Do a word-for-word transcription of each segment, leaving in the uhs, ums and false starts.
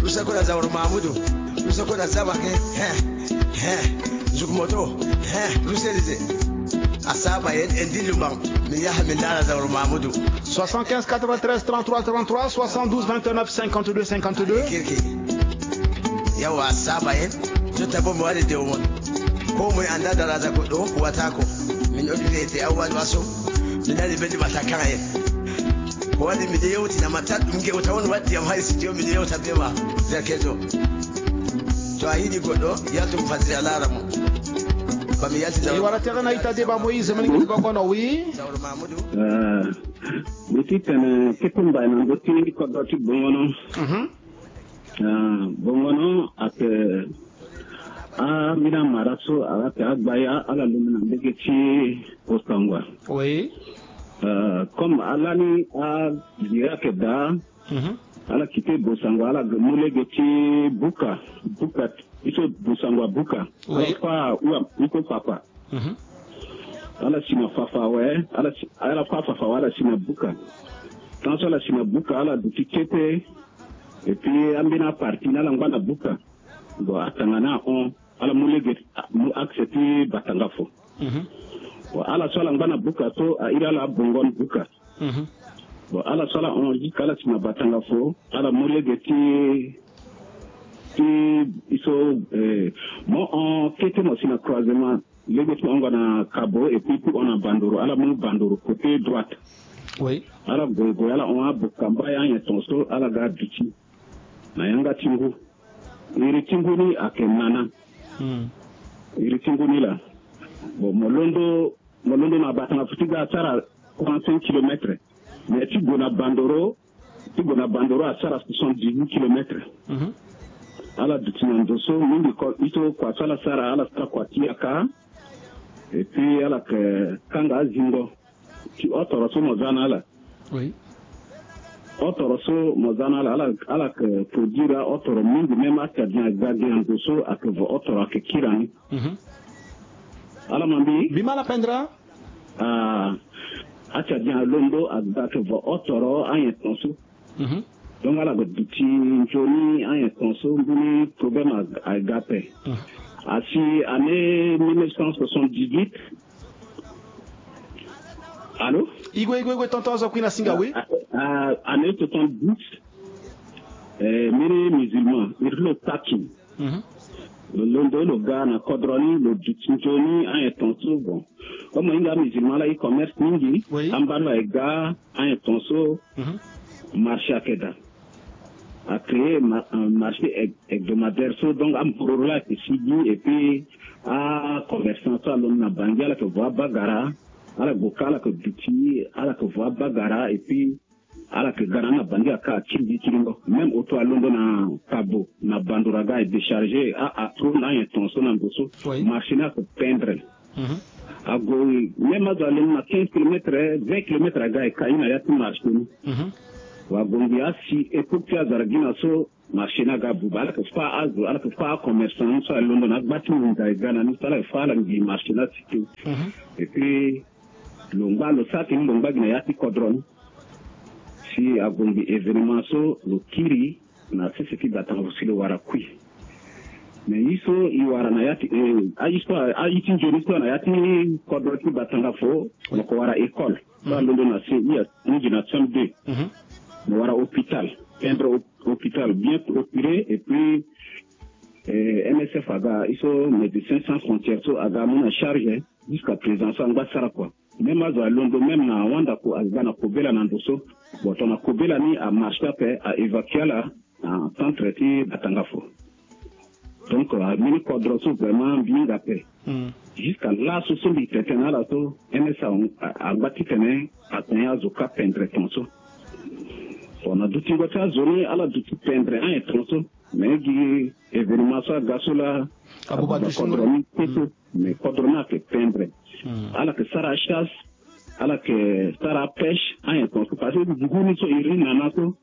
Ruse kue na Zawro Mahamudu. Ruse kue na Zabake. He, he. Nzuk moto. He, ruse lize. Asaba yen, endi lumba. Mi yaha mi ndara Zawro Mahamudu. Soixante-quinze quatre-vingt-treize trente-trois trente-trois, soixante-douze vingt-neuf cinquante-deux cinquante-deux. Kirki. Yawa asaba yen. Jota bo mo wari de won. Ko mo anda dara za ko do, ko wata ko. Min odi de te awa do aso. Min ali bendi bata kan yen. Ko wani mi de yewti na mata dum ge wata won wati am hay studio mi de yewta be ma. Za kezo. To a yiɗi goɗɗo, yaltu mo fadiri a laara mo. Ba mi yalti. E wara tere na ita deba Moïse, mani ngi ba kono, oui. Zawro Mahamudu. Eh, mi ti tene kete mbai na ndo ti kodro ti bongono. Mhm. Eh, bongono ake, ah, mina mara so, ala te agba ya, ala lumi na mbege ti Osangwa. Oui. Eh, comme ala ni a gira ke da, Mhm. Ala kite Bosangwa, ala ge mu lege ti Buka. Buka, iso Bosangwa Buka. Ala Oui. fa ua, iko fafa. Mhm. Ala si na fafa awe, ala si, ala fa fafa awe, ala si na Buka. Tant so ala si na Buka, ala duti kete. Et puis, ambeni aparti ni ala ngba na Buka. Bon, atanga ni ahon. Ala mu lege, mu accès ti Batanga fo. Mhm. Bon, ala so ala ngba na Buka so, a iri ala abongo ni Buka. Mhm. Bon, ala so ala hon jusqu'à ala si na Batanga fo, ala mu lege ti, ti, iso, eh, mo hon kete mo si na croisement, lege ti mo hon nga na Kabo, et puis pour hon na Bandoro, ala mu Bandoro, côté droite. Oui. Ala goigoi, ala hon abokamba ya nyen ton so, ala ga duti. Na yanga ti ngu. Iri ti ngu ni ake nana. Hmm. Iri ti ngu ni la. Bon, mo londo, mo londo na Batanga fo ti ga asara quarante-cinq kilomètres. Mais ti gue na Bandoro, ti gue na Bandoro asara soixante-dix-huit kilomètres. Mhm. Ala duti na ndo so, mingi ko, ito kua so ala sara, ala sara kua ti yaka. Et puis ala ke kanga azingo. Ti otoro so mo za na ala. Oui. Otoro so mo za na ala, ala, ala ke produire otoro mingi, même atadin aga gi na ndo so ake vo otoro ake kiri ni. Mhm. Ala ma mbi. Mbi ma ala pendere. Ah, atadin alondo aga ake vo otoro anyen ton so. Mhm. Donc ala ga duti nzoni anyen ton so, mbeni problème a, aga ape. Mhm. Asi année mille neuf cent soixante-dix-huit. Allô? Igwe, igwe, igwe, tonton, azo kui na singa, oui. Ah, ah, année soixante-dix, eh, mbeni musulman, iri lo taki. Mhm. Lo londo lo ga na kodro ni, lo duti nzoni anyen ton so, bon. Comme mo hinga musulman la e commerce mingi, oui, ambeni lo aga anyen ton so, mhm, marché ake daa. A créer ma-, un marché heb-, hebdomadaire so, donc ambororo la ake sigi, et puis acommerçant so alondo na Bangui, ala ke vo abagara, ala gue ka, ala ke duti, ala ke vo abagara, et puis ala ke ga na ni na Bangui aka akiri gi kiringo. Même auto alondo na Kabo, na Bandoro aga e décharger a, atro na anyen ton so na ndo so. Oui. Marché ni ake pendre. Mhm. Ague, même azo alondo na quinze kilomètres, vingt kilomètres aga e ka, e na ya ti marché ni. Mhm. Wa gue ngi asi époque ti azara gi na so, marché ni aga buba, ala ke fa azo, ala ke fa acommerçant ni so alondo na agba ti nginza e ga na ni so, ala ke fa ala ngi marché ni asi te. Mhm. Et puis, lo ngba, lo sara tene lo ngba gi na ya ti kodro ni. Si ague ngi événement so, lo kiri na sese ti Batanga fo si lo wara kui. Mais ye so e wara na ya ti, eh, aye so, aye ti nzoni so na ya ti kodro ti Batanga fo, mo ko wara école. So alondo na C I, a, ahingi na C M deux. Mhm. Mo wara hôpital, timbre hôp-, hôpital bien clôturé, et puis, eh, M S F aga, ye so Médecins Sans Frontières so aga amu na charge, jusqu'à présent so angba sara kua. Même azo alondo, même na Wandako aga na kobela na ndo so. Bon, tongana kobela ni amarché ape, a évacuer ala na centre ti Batanga fo. Donc, ah, mbeni kodro so vraiment mbi hinga ape. Hmm. Jusqu'à laso so mbi tene tene na ala so, M S A a, a, angba titene atene azo ka pendre ton so. Bon, na dutingo ti azo ni, ala duti pendre anyen ton so. Mais gi événement so aga so la, abuba, abuba dutingo kodro ni kete. Hmm. Mais kodro ni ake pendre. Hmm. Ala ke sara chasse, ala ke sara pêche, anyen ton so. Parce que ngu ni so iri nana so,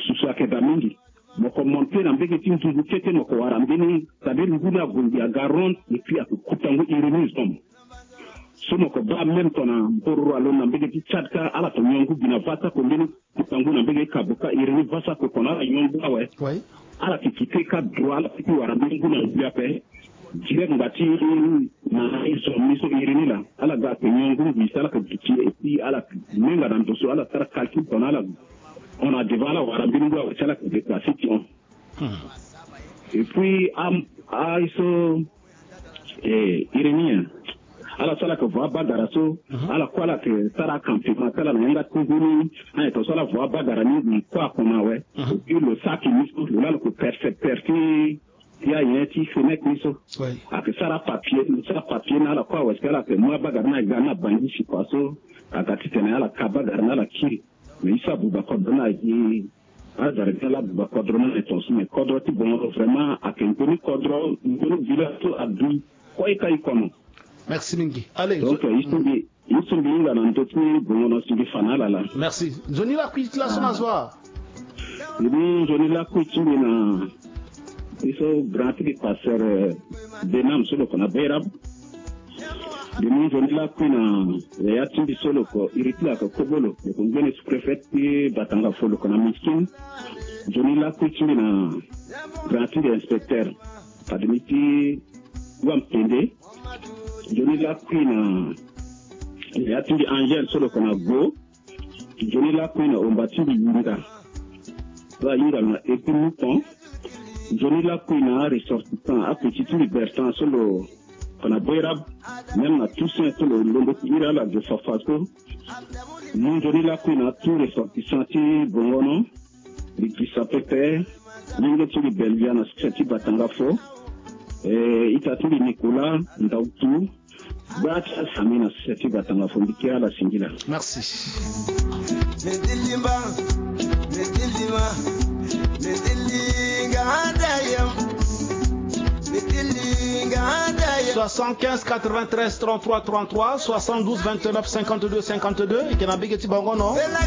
susu ake daa mingi. Mo ko monter na mbege ti nduzu kete, mo ko wara mbeni, c'est-à-dire ngu ni ague ngi aga ronde, et puis ake kuta ngu iri ni zo mo. So mo ko baa même tongana mbororo alondo na mbege ti Tchad ka ala to nyon ngu gi na va sako mbeni. Ti tangu na mbege ti Kaboka iri ni va sako tongana ala nyon ngu awe. Ala ti kite ka droit ala ti wara mbeni ngu na ngui ape. Direct ngba ti na iso miso iri ni laa ala ga ake nyon ngu ngui si ala ke gi ti e si ala menga na ndo so ala sara calcul tongana ala hon na devant ala wara mbeni ngu awe si ala ke déplacer ti hon. Et puis am aye so eh, iri ni eh. Ala so ala ke vo abagara so ala kue ala ke sara acampement ti ala na yanga ti ngu ni. Aye to so ala vo abagara ni ngui kue ako na awe. Et puis lo saki ni so lo laa lo ke percepteur ti ti ayen ti Fenech ni so. Ayeke sara papier lo sara papier na ala kue awe si ala yeke mu abagara ni aga ni na Bangui si kua so aga titene ala ka abagara ni ala kiri. Mais ye so abuba kodro ni aye. Azara ti ala abuba kodro ni aye tongaso mais kodro ti bongo vraiment ayeke nzoni kodro nzoni village so adui. Kue ka e kono. Merci mingi. Allez. Donc ye so mbi ye so mbi hinga na ndö ti bongo na si mbi fa na ala laa. Merci. Nzoni lakui ti laso na zo. Mbi mu nzoni lakui ti mbi na ye so grand ti mbi pasteur Benam so lo ko na Beirab. Mbi mu nzoni lakui na yaya ti mbi so lo ko iri ti lo ayeke kobolo lo ko ngbene sous-préfet ti Batanga fo lo ko na Miskin. Nzoni lakui ti mbi na grand ti mbi inspecteur Pademi ti Wampende. Nzoni lakui na yaya ti mbi Angel so lo ko na Go. Nzoni lakui na omba ti mbi Yinda so ahinga lo na Epi Mouton. Nzoni lakui na aressortissant apeti ti mbi Bertrand so lo ko na Boerab. Même na Toussaint so lo londo ti iri ala zo fafa so. Mu nzoni lakui na tout ressortissant ti Bongono. Mbi gisa pepe. Lenge ti mbi Belvia na succès ti Batanga fo. Eh, ita ti mbi Nicolas Ndautu. Gba ti asami na sese ti Batanga fo mbi kiri ala singila. Merci. Soixante-quinze quatre-vingt-treize trente-trois trente-trois, soixante-douze vingt-neuf cinquante-deux cinquante-deux, e yeke na mbege ti bango no.